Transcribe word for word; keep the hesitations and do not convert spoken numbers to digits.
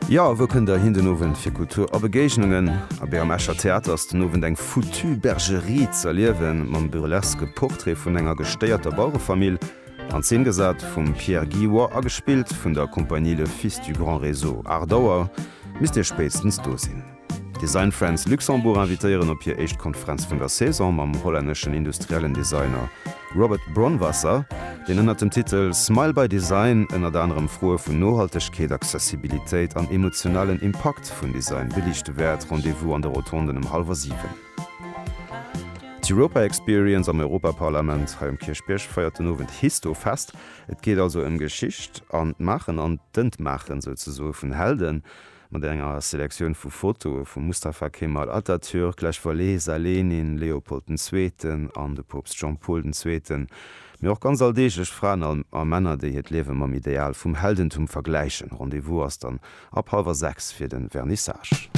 Jo, wou kënnt der hin den Owend fir Kultur a Begéignungen? Abee, am Escher Theater ass den Owend eng foutue Bergerie z'erliewen, mam burleske Portrait vun enger gestéierter Bauerefamill, an Zeen gesat vum Pierre Guillois a gespillt vun der Compagnie Le Fils du Grand Réseau. Aacht Auer misst dir spéitstens do sinn. D'Design Friends Luxembourg invitéieren op hir éischt Konferenz vun der Saison mam hollänneschen industriellen Designer Robert Bronwasser, deen ënnert dem Titel Smile by Design ënnert anerem Froe vun Nohaltegkeet, Accessibilitéit an emotionalen Impakt vun Design beliichte wäert. Rendez-vous an de Rotonden ëm hallwer siwen. D'Europa Experience am Europaparlament hei um Kierchbierg feiert den Owend Histofest. Et geet also ëm Geschicht an d'Maachen an d'Entmaachen souzesoe vun Helden, mat enger Selektioun vu Fotoe vum Mustafa Kemal Atatürk, Lech Walesa, Lenin, Leopold den Zweeten an de Poopst Jean-Paul den Zweeten, mee och ganz alldeeglech Fraen a Männer, déi hiert Liewe mam Ideal vum Heldentum vergläichen. Rendez-vous ass dann ab hallwer sechs fir de Vernissage.